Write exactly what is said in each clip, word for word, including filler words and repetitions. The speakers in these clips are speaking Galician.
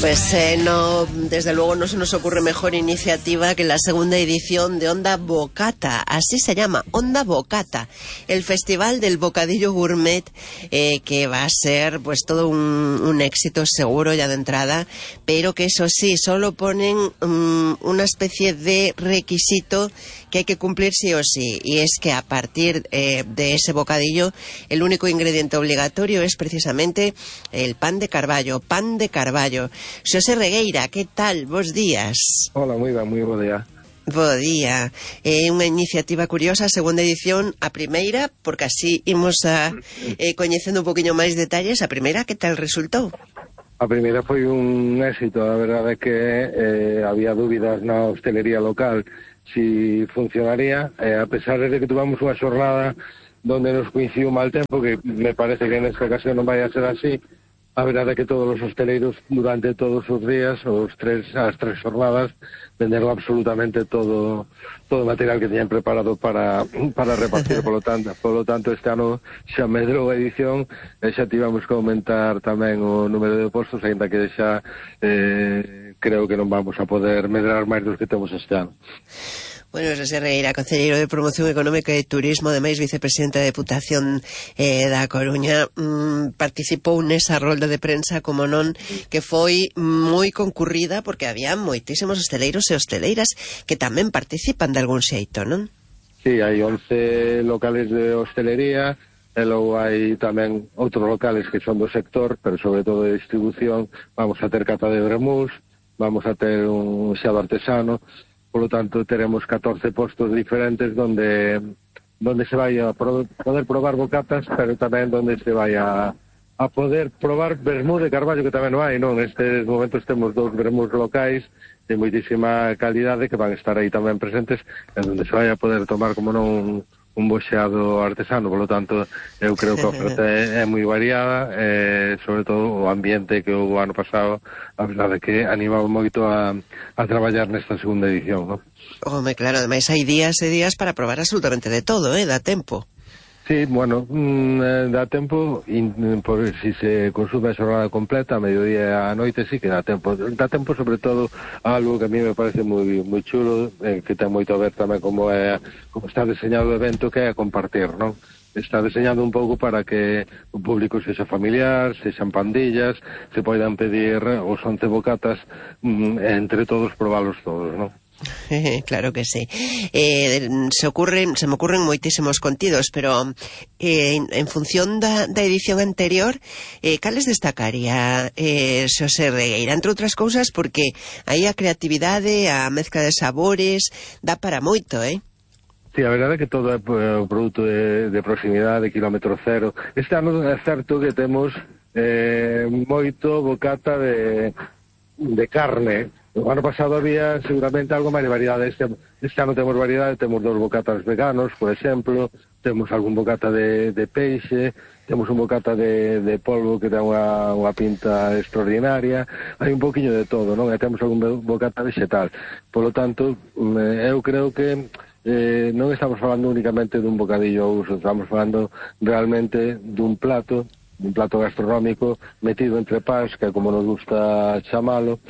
Pues eh, no, desde luego no se nos ocurre mejor iniciativa que la segunda edición de Onda Bocata, así se llama, Onda Bocata, el festival del bocadillo gourmet, eh, que va a ser pues todo un, un éxito seguro ya de entrada, pero que eso sí, solo ponen um, una especie de requisito que hay que cumplir sí o sí, y es que a partir eh, de ese bocadillo el único ingrediente obligatorio es precisamente el pan de carballo, pan de carballo. Xosé Regueira, que tal? Bos días. Hola, moi ben, moi bo día. Bo día. É eh, unha iniciativa curiosa, segunda edición, a primeira, porque así imos a eh, coñecendo un poquinho máis detalles. A primeira, que tal resultou? A primeira foi un éxito, a verdade é que eh, había dúbidas na hostelería local si funcionaría, eh, a pesar de que tuvamos unha xornada donde nos coincidiu mal tempo, que me parece que nesta ocasión non vai a ser así. A verdade é que todos os hosteleiros durante todos os días, os tres, as tres jornadas, venderon absolutamente todo todo o material que teñan preparado para para repartir, polo tanto, polo tanto este ano xa medrou a edición e xa tivemos que aumentar tamén o número de postos, ainda que xa eh, creo que non vamos a poder medrar máis dos que temos este ano. Bueno, Xosé Regueira, concelleiro de Promoción Económica e Turismo, ademais vicepresidente da Deputación eh, da Coruña, mm, participou nesa rolda de prensa, como non, que foi moi concurrida, porque había moitísimos hosteleiros e hosteleiras que tamén participan de algún xeito, non? Sí, hai once locales de hostelería, e logo hai tamén outros locales que son do sector, pero sobre todo de distribución. Vamos a ter cata de vermús, vamos a ter un xado artesano. Por lo tanto, teremos catorce postos diferentes donde donde se vai a pro, poder probar bocatas, pero tamén donde se vai a, a poder probar vermú de carballo, que tamén non hai, non? Nestes momentos temos dous vermús locais de moitísima calidade que van estar aí tamén presentes, en donde se vai a poder tomar como non un boxeado artesano. Por lo tanto, eu creo que a oferta é, é moi variada, eh, sobre todo o ambiente que o ano pasado, a verdade que animaba moito a, a traballar nesta segunda edición, non? Home, claro, ademais hai días e días para probar absolutamente de todo, eh, dá tempo. Sí, bueno, mmm, dá tempo, in, por si se consume a xornada completa, a mediodía e a noite, sí que dá tempo. Dá tempo, sobre todo, algo que a mí me parece moi moi chulo, eh, que ten moito a ver tamén como é como está diseñado o evento, que é a compartir, non? Está diseñado un pouco para que o público sexa familiar, sexan pandillas, se poidan pedir os once bocatas, mmm, entre todos probalos todos, non? Claro que sí. Eh, se ocurren, se me ocurren moitísimos contidos, pero eh, en, en función da, da edición anterior, eh, cales destacaría eh, Xosé Regueira? Entre outras cousas, porque aí a creatividade, a mezcla de sabores, dá para moito, eh? Sí, a verdade é que todo é o produto de, de proximidade, de kilómetro cero. Este ano é certo que temos eh, moito bocata de, de carne. O ano pasado había seguramente algo máis de variedade. Este, este ano temos variedade, temos dos bocatas veganos, por exemplo, temos algún bocata de, de peixe, temos un bocata de, de polvo que ten unha, unha pinta extraordinaria, hai un poquinho de todo, non? E temos algún bocata vegetal. Por lo tanto, eu creo que eh, non estamos falando únicamente dun bocadillo ao uso, estamos falando realmente dun plato, dun plato gastronómico metido entre pás, que é como nos gusta chamalo.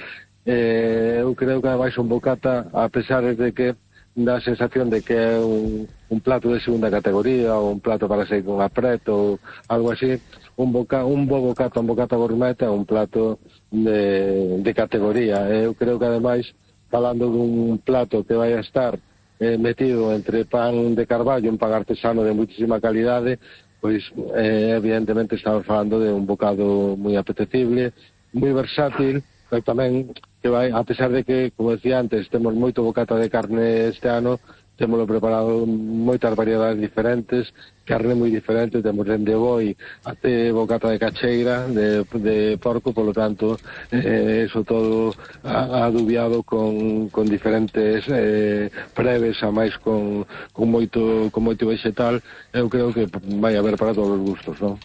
Eh, eu creo que ademais un bocata, a pesar de que dá a sensación de que é un, un plato de segunda categoría ou un plato para ser con apreto ou algo así, un, boca, un bo bocata, un bocata gourmet é un plato de, de categoría. Eu creo que ademais, falando dun plato que vai a estar eh, metido entre pan de carballo, un pan artesano de muitísima calidade, pois eh, evidentemente estamos falando de un bocado moi apetecible, moi versátil, pero tamén que vai, a pesar de que, como decía antes, temos moito bocata de carne este ano, témolo preparado moitas variedades diferentes, carne moi diferente, temos dende boi até bocata de cacheira, de, de porco, polo tanto, eh, eso todo adubiado con, con diferentes eh, preves, a máis con, con, moito, con moito vegetal. Eu creo que vai haber para todos os gustos, non?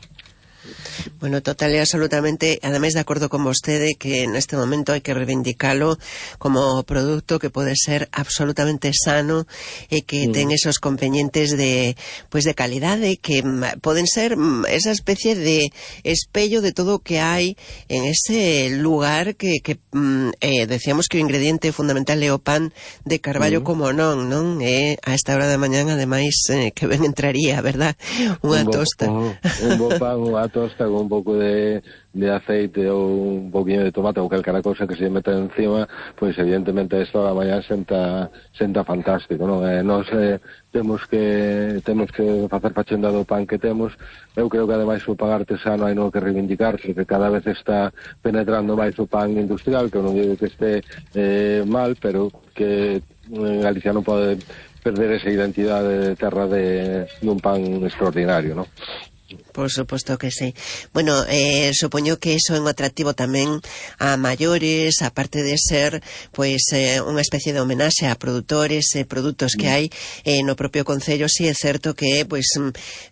Bueno, total e absolutamente, ademais de acordo con vostede que neste momento hai que reivindicalo como produto que pode ser absolutamente sano e que mm. ten esos componentes de pues de calidade que poden ser esa especie de espello de todo o que hai en ese lugar que, que eh, decíamos que o ingrediente fundamental é o pan de carballo mm. como non, non? E a esta hora da mañán, ademais, eh, que ben entraría, verdad? Unha un bo, tosta. Un, un bo pan, unha tosta con un pouco de, de aceite ou un poquinho de tomate ou calquera cosa que se meta encima, pois evidentemente a esta hora da mañán senta, senta fantástico, non? Eh, nos eh, temos que temos que facer fachenda do pan que temos. Eu creo que ademais o pan artesano hai no que reivindicar, que cada vez está penetrando máis o pan industrial, que eu non digo que este eh, mal, pero que en Galicia non pode perder esa identidade de terra de dun pan extraordinario, non? Por suposto que sí. Bueno, eh, supoño que eso é un atractivo tamén a maiores, aparte de ser pois eh, unha especie de homenaxe a produtores e eh, produtos que hai eh, no propio concello. Si sí, é certo que é pois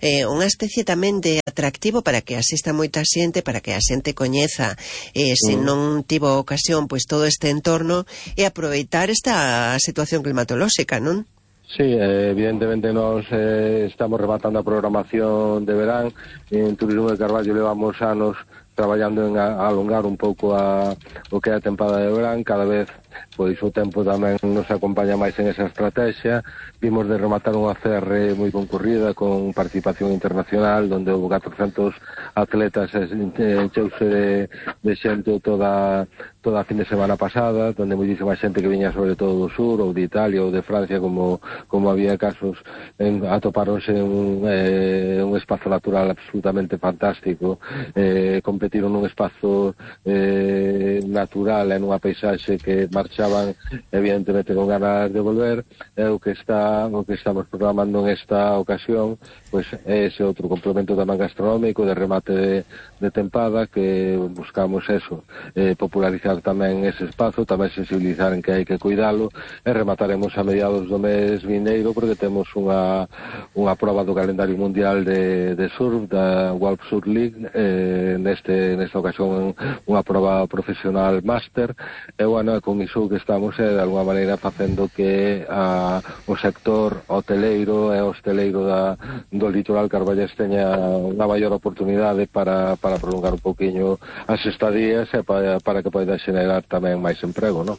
eh, unha especie tamén de atractivo para que asista moita xente, para que a xente coñeza eh, se non tivo ocasión pois todo este entorno e aproveitar esta situación climatolóxica, non? Sí, eh, evidentemente nos eh, estamos rematando a programación de verán. En Turismo de Carballo levamos anos traballando en a, a alongar un pouco a, o que é a tempada de verán. Cada vez pois o tempo tamén nos acompaña máis en esa estrategia. Vimos de rematar unha C R moi concurrida con participación internacional, donde houve catrocentos atletas, encheuse de, de xente toda toda a fin de semana pasada, donde moitísima xente que viña sobre todo do sur, ou de Italia, ou de Francia, como como había casos, en, atopáronse en un, eh, un espazo natural absolutamente fantástico, eh, competiron nun espazo eh, natural, en unha paisaxe que marchaban evidentemente con ganas de volver. É o que está o que estamos programando en esta ocasión, pois é ese outro complemento tamén gastronómico de remate de, de tempada, que buscamos eso, eh, popularizar tamén ese espazo, tamén sensibilizar en que hai que cuidalo, e remataremos a mediados do mes vindeiro, porque temos unha unha proba do calendario mundial de, de surf, da World Surf League, eh, neste nesta ocasión unha proba profesional máster, e bueno, con iso que estamos é de alguma maneira facendo que a, o sector hoteleiro e hosteleiro da, do litoral carballés teña unha maior oportunidade para, para prolongar un poquinho as estadías e para, para que poida xenerar tamén máis emprego, non?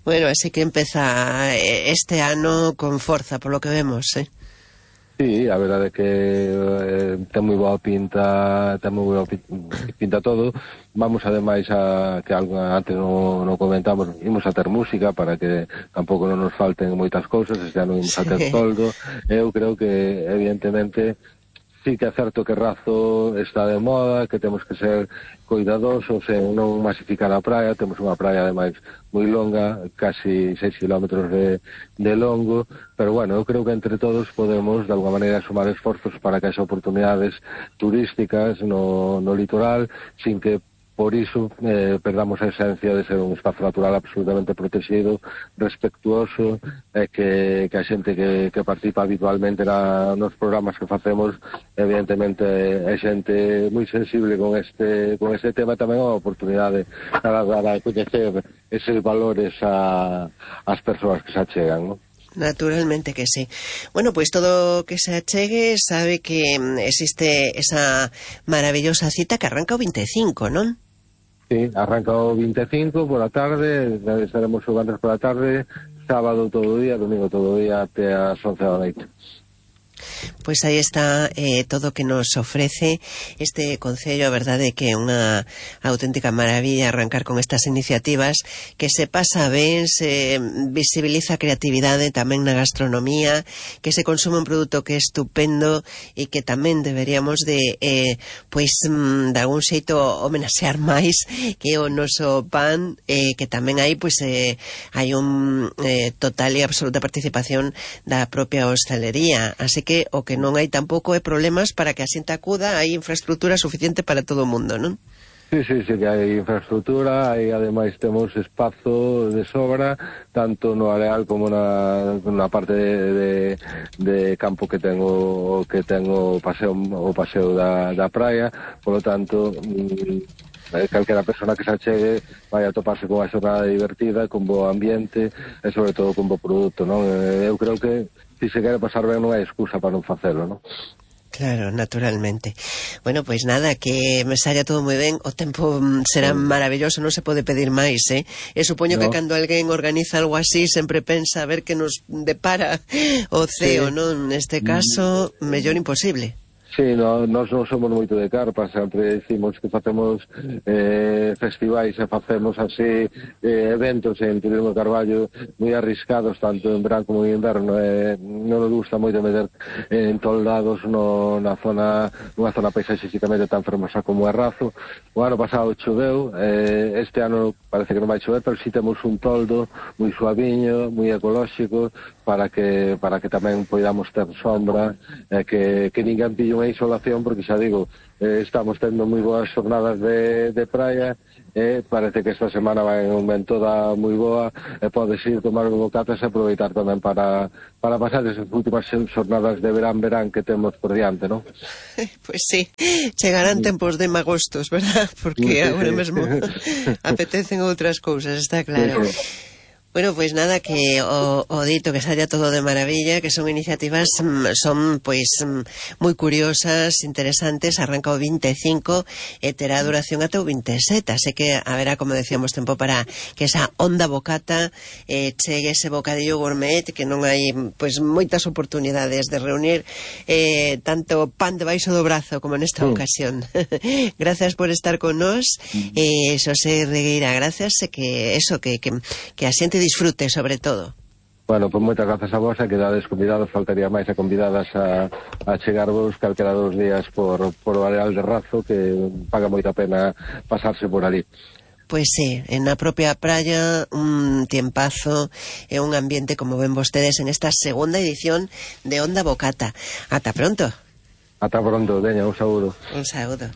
Bueno, así que empeza este ano con forza, por lo que vemos, eh? Sí, a verdade é que eh, ten moi boa pinta, ten moi boa pinta todo. Vamos ademais a que algo antes non no comentamos, imos a ter música para que tampouco non nos falten moitas cousas, este ano imos a ter toldo. Eu creo que evidentemente sí que é certo que Razo está de moda, que temos que ser cuidadosos en non masificar a praia. Temos unha praia ademais moi longa, casi seis kilómetros de, de longo, pero bueno, eu creo que entre todos podemos de alguma maneira sumar esforzos para que haxa oportunidades turísticas no, no litoral, sin que por iso eh, perdamos a esencia de ser un espazo natural absolutamente protegido, respectuoso, e eh, que, que a xente que, que participa habitualmente na, nos programas que facemos, evidentemente é xente moi sensible con este con este tema. Tamén é unha oportunidade para dar a coñecer eses valores a, as persoas que se achegan, non? Naturalmente que sí. Bueno, pues todo que se achegue sabe que existe esa maravillosa cita que arranca o veinticinco, non? Sí, arranca o veinticinco por a tarde, estaremos xogando por a tarde, sábado todo o día, domingo todo o día até as once da noite. Pois aí está eh, todo o que nos ofrece este concello. A verdade é que é unha auténtica maravilla arrancar con estas iniciativas, que se pasa ben, se visibiliza a creatividade tamén na gastronomía, que se consume un produto que é estupendo e que tamén deberíamos de eh, pois de algún xeito homenaxear máis que o noso pan, eh, que tamén hai pois eh, hai un eh, total e absoluta participación da propia hostelería, así que o que non hai tampouco é problemas para que a xente acuda, hai infraestructura suficiente para todo o mundo, non? Sí, sí, sí, que hai infraestructura, e ademais temos espazo de sobra, tanto no areal como na, na parte de, de, de campo que tengo que tengo o paseo, o paseo da, da praia, polo tanto, mm, calquera persona que se achegue vai a toparse con unha xornada divertida, con bo ambiente e sobre todo con bo produto, non? Eu creo que se se quere pasar ben non hai excusa para non facelo, non? Claro, naturalmente. Bueno, pois nada, que me saia todo moi ben. O tempo será maravilloso, non se pode pedir máis, eh? E supoño no. que cando alguén organiza algo así sempre pensa a ver que nos depara o ceo, sí. non? Neste caso, mellor imposible. Sí, no, nós non somos moito de carpa, sempre decimos que facemos eh, festivais e facemos así eh, eventos en Turismo Carballo moi arriscados, tanto en verán como en inverno, eh, non nos gusta moito meter eh, en toldados no, na zona, nunha zona paisaxísticamente tan fermosa como é Razo. O ano pasado choveu, eh, este ano parece que non vai chover, pero si temos un toldo moi suaviño, moi ecolóxico, para que para que tamén poidamos ter sombra, eh, que, que ninguén pille unha isolación, porque xa digo, eh, estamos tendo moi boas jornadas de, de praia, e eh, parece que esta semana vai en un vento da moi boa, e podes ir tomar un bocatas e aproveitar tamén para, para pasar esas últimas jornadas de verán-verán que temos por diante, non? Pois sí, chegarán tempos de magostos, verdad? Porque sí, agora sí. mesmo apetecen outras cousas, está claro. Sí, sí. Bueno, pois nada, que o, o dito que saia todo de maravilla, que son iniciativas, son pois moi curiosas, interesantes, arranca o vinte e cinco e terá duración ata o vinte e sete, así que haberá, como decíamos, tempo para que esa onda bocata eh, chegue ese bocadillo gourmet, que non hai pois moitas oportunidades de reunir eh, tanto pan debaixo do brazo como nesta mm. ocasión. Gracias por estar con nós, eh, Xosé Regueira, gracias, e que eso, que, que, que a xente disfrute, sobre todo. Bueno, pois moitas grazas a vos, e quedades convidados, faltaría máis a convidadas a, a chegarvos calquera dos días por, por o areal de Razo, que paga moita pena pasarse por ali. Pois sí, en a propia praia, un tiempazo e un ambiente, como ven vostedes, en esta segunda edición de Onda Bocata. Ata pronto. Ata pronto, veña, un saúdo. Un saúdo.